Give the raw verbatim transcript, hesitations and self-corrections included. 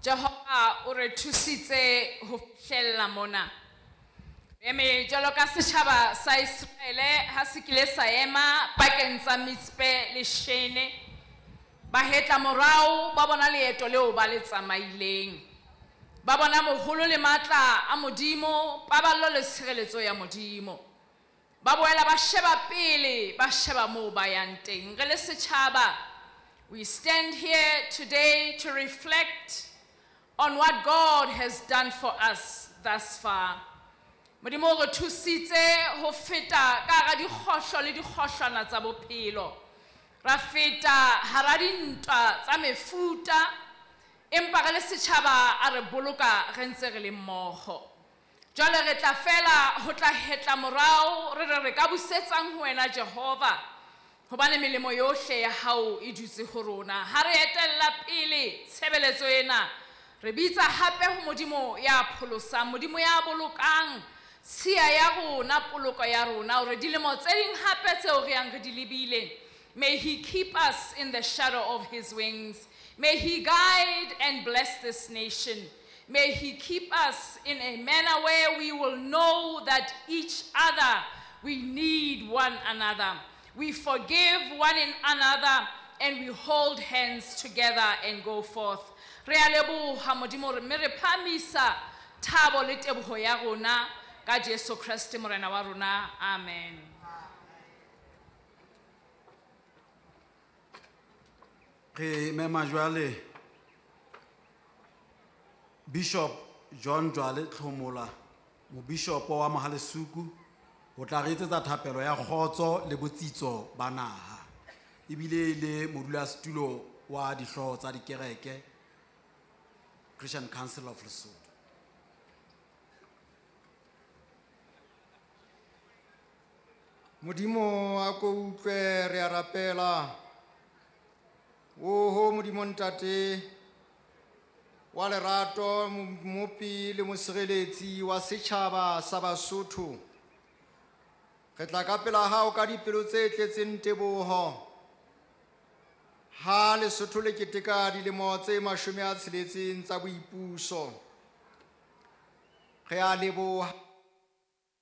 Jehova o re thusitse ho fihlella mona. Eme jwalo ka setjhaba sa Iseraele ha se kile sa ema pakeng tsa Mitspe le Shene, ba hetla morao ba bona leeto leo ba le tsamaileng. Ba bona moholo le matla a Modimo, paballo le tshireletso ya Modimo. Ba boela ba sheba pele, ba sheba moo ba yang teng. Re le setjhaba, we stand here today to reflect on what God has done for us thus far. Modimo o re thusitse ho feta ka hara dikgohlo le dikgohlwana tsa bophelo. Ra feta hara dintwa tsa mefuta, empa re le setjhaba a re boloka re ntse re le mmoho. Jwale re tla fela ho tla hetla morao, re re re ka busetsang ho wena Jehova, hobane melemo yohle ya hao e dutse ho rona. Ha re etella pele tshebeletso ena, re bitsa hape ho Modimo ya pholosang, Modimo ya bolokang tshiya ya rona, poloko ya rona, hore dilemo tse ding hape tseo re yang re di lebile, may he keep us in the shadow of his wings. May he guide and bless this nation. May he keep us in a manner where we will know that each other, we need one another. We forgive one another and we hold hands together and go forth. Re a leboha Modimo, re mme re phahamisa thabo le teboho ya rona ka Jesu Kreste Morena wa rona. Amen. Re mema jwale Bishop John Jwale Tlhomola, mobishopo wa Mohalesuku, ho tla re etsetsa thapelo ya kgotso le botsitso ba naha. Ebile e le modulasetulo wa dihlooho tsa dikereke, Christian Council of Lesotho. Modimo a ko utlwe, re a rapela. Oho Modimo Ntate wa lerato, Mmopi le Mosireletsi wa setjhaba sa Basotho, re tla ka pela hao ka dipelo tse tletseng teboho. Ha Lesotho le keteka dilemo tse mashome a tsheletseng tsa boipuso, re a leboha